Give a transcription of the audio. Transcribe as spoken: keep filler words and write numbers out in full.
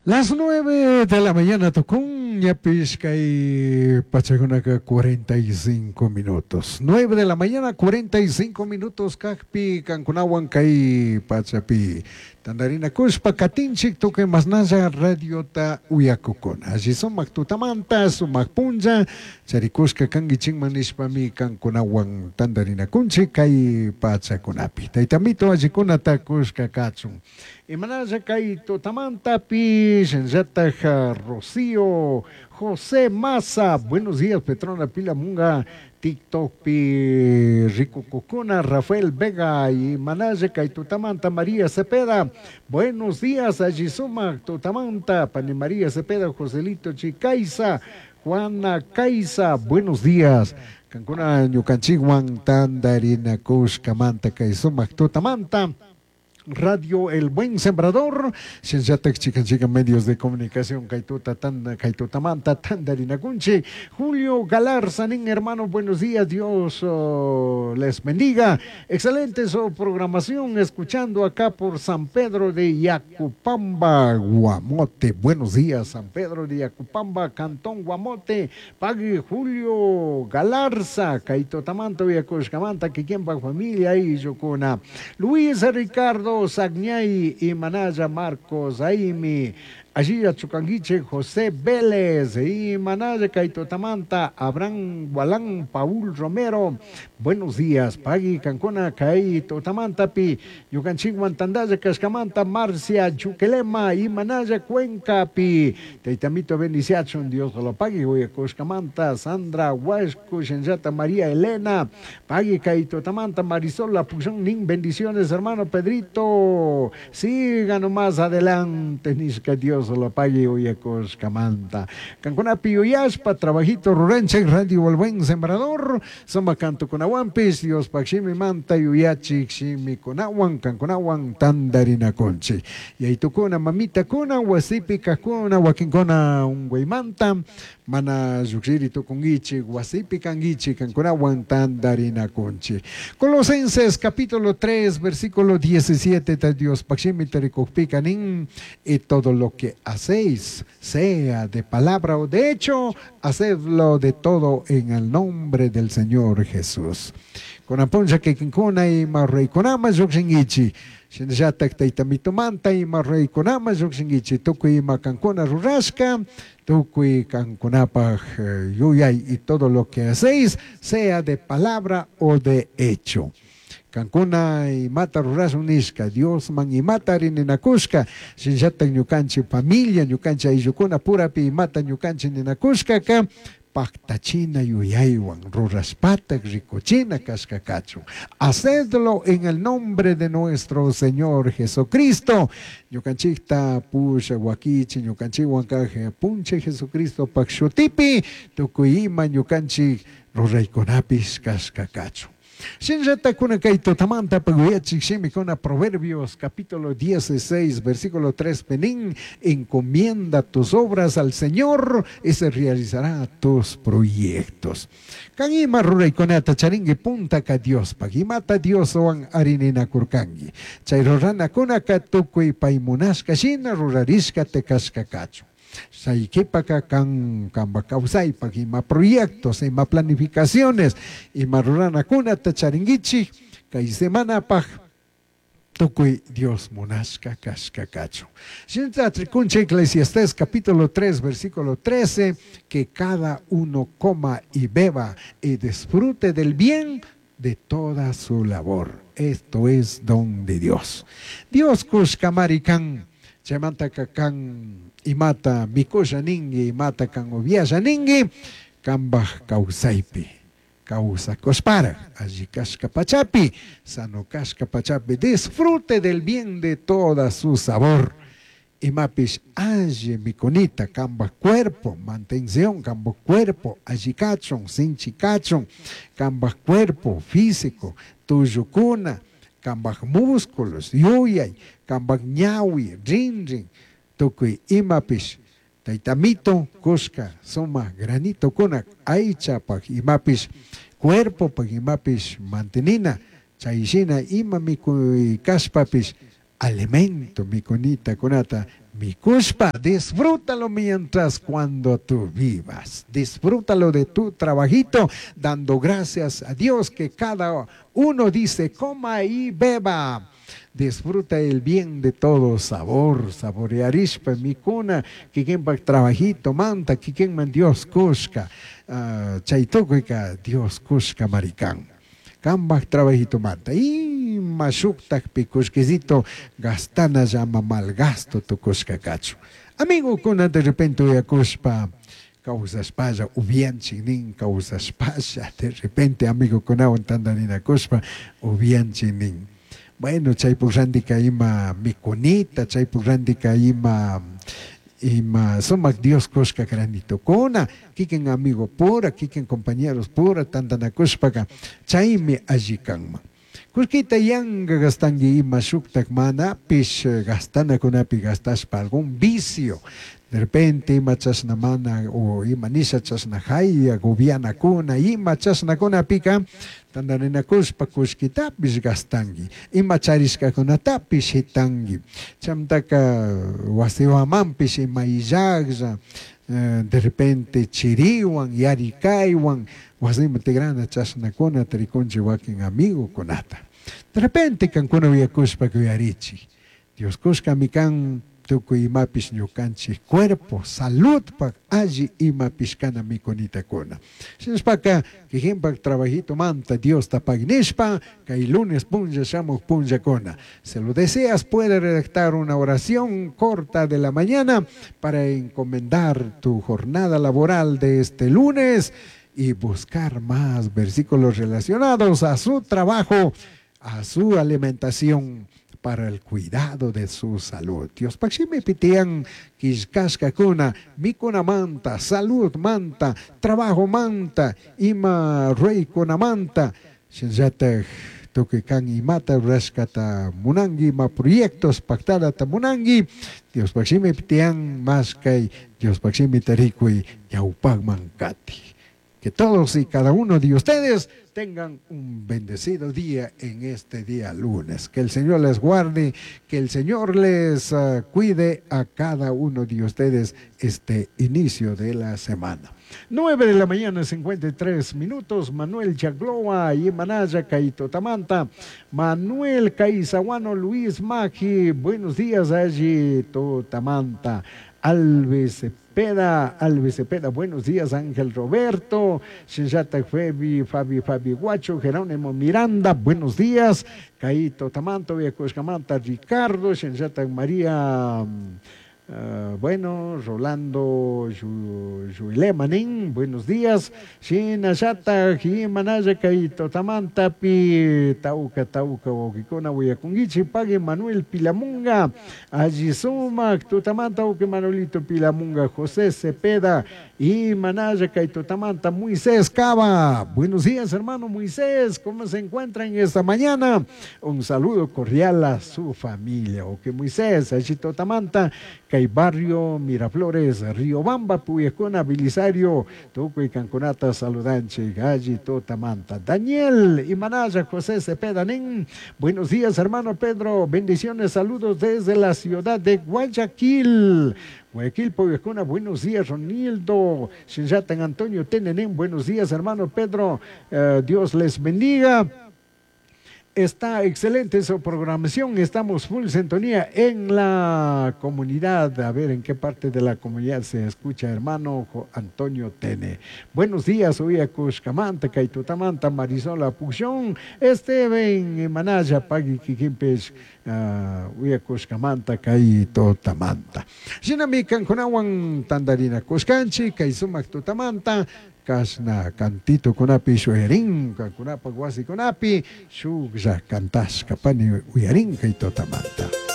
Las nueve de la mañana tucun, ñapish kay pachakunaka cuarenta y cinco minutos. Nueve de la mañana, cuarenta y cinco minutos kajpi kankunawan kay pachapi. Tandarina kushpa katinchik tukuy masnalla radiota uyakukuna. Alli sumak tutamanta, sumak punlla, charikushka kankichikman nishpami kankunawan tandarinakunchik kay pachakunapi. Taytamito allikunata kushka kachun. Imanalla kay tutamantapi, shinllataj Rocío José Maza, buenos días Petrona Pilamunga, TikTokpi rikukukuna, Rafael Vega y Manalla kay tutamanta María Cepeda, buenos días alli sumak tutamanta, pani María Cepeda, Joselito Chicaiza, Juana Caiza, buenos días. Kankuna ñukanchikwan tandarinakushkamanta kay sumak tutamanta. Radio El Buen Sembrador, shinllatak chikan chikan medios de comunicación, kaytuta tanda, kaytutamanta tandarinakunchi. Julio Galarza, nin hermano, buenos días, Dios, oh, les bendiga. Excelente su programación, escuchando acá por San Pedro de Yacupamba, Guamote. Buenos días, San Pedro de Yacupamba, Cantón Guamote. Pague Julio Galarza, kaytutamanta, Yacushkamanta, Kikiempa familia y Yocuna. Luis Ricardo Sagñay y Manaya Marcos Aimi, allí a Chucanguiche, José Vélez y Manaya Kaitotamanta, Abraham Gualán, Paul Romero. Buenos días, Pagui Cancuna, Kaitotamantapi, Yucanchiguan Tandaya, Cascamanta, Marcia Chuquelema y Manaya Cuencapi. Teitamito Beniciachon, Dios lo pague, Cuscamanta, Sandra Huasco, Shenyata María Elena, Pagui Kaitotamanta, Marisol Lapuxón, Nin, bendiciones, hermano Pedrito. Siga nomás adelante, Nisca, Dios lo pague, Cuscamanta. Cancuna Piyuyaspa, trabajito ruranche, Radio El Buen Sembrador, Soma Canto Conahuampis, Dios Paximi Manta, Yuyachi, Ximi Conahuan, Cancunahuan, Tandarina Conchi. Y ahí tucuna, mamita cuna, Huasipi, Cacuna, Huaquincona, Unguaymanta, Mana Yuxiri Tucunguichi, Huasipi Canguichi, Cancunahuan, Tandarina Conchi. Colosenses capítulo tres, versículo diecisiete, Dios Paximi Tericocpicanín, y todo lo que hacéis, sea de palabra o de hecho, hacedlo de todo en el nombre del Señor Jesús. Con aponja que quincuna y marrey conama yoxinguichi. Shinllatak taytamitumanta y marrey conama yoxinguichi. Tukuy macancuna rurashka, tukuy cancunapaj yuyay, y todo lo que hacéis, sea de palabra o de hecho. Cancuna y mata rurashunishka, Dios man y mata rininakushka, shinllatak ñukanchi familia, ñukanchi ayllukuna purapi y mata ñukanchi ninakushka ka, pactachina yuyaywan, rurashpatak rikuchina kashkakachu. Hacedlo en el nombre de nuestro Señor Jesucristo. Ñukanchikta pusha wakichi, ñukanchikwan kaj punche Jesucristo pakshutipi, tukuy ima ñukanchik ruraykunapis kashkakachu. Shinllatakuna kay tutamanta paguyachik shimikuna Proverbios capítulo dieciséis versículo tres penín, encomienda tus obras al Señor y se realizará tus proyectos. Kan ima ruraykunata charingi punta ka Dios pagimata Dios oan arinina kurkangi. Chay ruranakunaka tukuy paymunashka shina rurarishka tekashka kachu. Saykipaka kan kamba kawsaypak ima proyectos, ima planificaciones, ima ruranakunata charinguichi, kay semanapaj tukuy Dios munashka kashka kachu. Shinta trikunche Eclesiastés capítulo tres versículo trece, que cada uno coma y beba y disfrute del bien de toda su labor. Esto es don de Dios. Dios kushkamarikan, chaymanta kan imata mikusha ningi, imata kan ubiasha ningi, kambaj kawsaypi, kawsakushpara, alli kashka pachapi, sano kashka pachapi, disfrute del bien de toda su sabor. Imapish alli mikunita, kambaj cuerpo, mantención, kambaj cuerpo, alli kachun, sinchi kachun, kambaj cuerpo físico, tuyukuna, kambaj músculos, yuyay, kambaj ñawi, rin rin, tukuy imapish, taytamito, kushka, suma, granito kuna, aychapaj, imapish, cuerpo paj, imapish, mantenina, chayshina, ima mikuy kashpapish, Alimento mikunita kunata mikushpa, disfrútalo mientras cuando tú vivas. Disfrútalo de tu trabajito, dando gracias a Dios que cada uno dice coma y beba. Disfruta el bien de todo sabor, saborearishpa mikuna, kikinpak trabajito manta, kikinman Dios kushka, uh, chay tukuyka Dios kushka marikan. Kambak trabajito manta. Ima shuktakpi kullkisito gastana llama malgasto tukushka kachu. Amigokuna de repente uyakushpa kawsashpalla upianchik nin kawsashpalla de repente amigokunawan tantarinakushpa upianchik nin. Bueno, chaypuk randika ima mikunita, chaypuk randika ima ima sumak Dios kushka granitukuna, kikin amigo pura, kikin compañeros pura tantanakushpaka chaymi alli kanman. Kullkita yanka gastanki ima shuktak manapish gastanakunapi gastashpa algún vicio. De repente ima chashna mana o ima nisha chashna jaya gobianakuna ima chashnakunapika tantarinakushpa kullkitapish gastanki, ima charishkakunatapish shitanki. Chamtaka wasiwamanpish ima illaklla de repente chiriwan yarikaywan wasiman tigrana chashnakunata rikunchik wakin amigokunata. De repente kankuna uyakushpa kuyarichik. Dios kushkami kan tukuy imapish ñukanchik cuerpo saludpak alli imapish kana mikunitakuna. Shinashpaka kikinpak trabajito manta Diosta pagnishpa kay lunes punlla shamuj punllakuna. Si lo deseas puede redactar una oración corta de la mañana para encomendar tu jornada laboral de este lunes y buscar más versículos relacionados a su trabajo, a su alimentación, para el cuidado de su salud. Dios pakshimi pitian kishkashkakuna, mikuna manta, salud manta, trabajo manta, ima ruykuna manta, shinallatak tukuy kan imata rurashkata munanki, ima proyectos pactadata munanki, Dios pakshimi pitian mashkay, Dios pakshimi tarikuy ñawpakman kati. Que todos y cada uno de ustedes tengan un bendecido día en este día lunes. Que el Señor les guarde, que el Señor les uh, cuide a cada uno de ustedes este inicio de la semana. Nueve de la mañana, cincuenta y tres minutos. Manuel Chagloa y Manaya Caito Tamanta. Manuel Caizaguano Luis Magi. Buenos días allí, Totamanta. Alves Cepeda, Alves Cepeda, buenos días, Ángel Roberto, Shinjata Fabi, Fabi, Fabi Guacho, Jerónimo Miranda, buenos días, Caito Tamanto, Villacuescamanta, Ricardo, Shinjata María, uh, bueno, Rolando Yuilemanin, buenos días, Shinashata, Jimanaya, Caito Tamanta, Pi, Tauca, Tauca, Oquicona, Huayacunguichi, Pague, Manuel Pilamunga, Allizuma, Tutamanta, Oque Manuelito Pilamunga, José Cepeda, y Manaya, Caito Tamanta, Moisés Cava. Buenos días, hermano Moisés, ¿cómo se encuentran esta mañana? Un saludo cordial a su familia. Oque Moisés, Allito Tamanta, Cay Barrio, Miraflores, Río Bamba, Puyacona, Belisario, Tuco y Cancunata, Saludanche, Galli, Totamanta. Daniel y Manaya, José Cepeda, Nin. Buenos días, hermano Pedro. Bendiciones, saludos desde la ciudad de Guayaquil. Guayaquil, Puyacona, buenos días, Ronildo. Shinjatan Antonio Tenenen, buenos días, hermano Pedro. Eh, Dios les bendiga. Está excelente su programación, estamos full sintonía en la comunidad. A ver en qué parte de la comunidad se escucha, hermano Antonio Tene. Buenos días, Uyacushcamanta, Caitutamanta, Marisola Puxón, Esteban Manaya, Pagui Kikimpes, uh, Uyacushcamanta, Caitotamanta. Shinami kankunawan tandarina Cushcanchi, Kaisumac Tutamanta, Kashna cantito kunapi shuyarin, kunapa wasi kunapi, shuklla cantashka pani uyarin kay totamanta.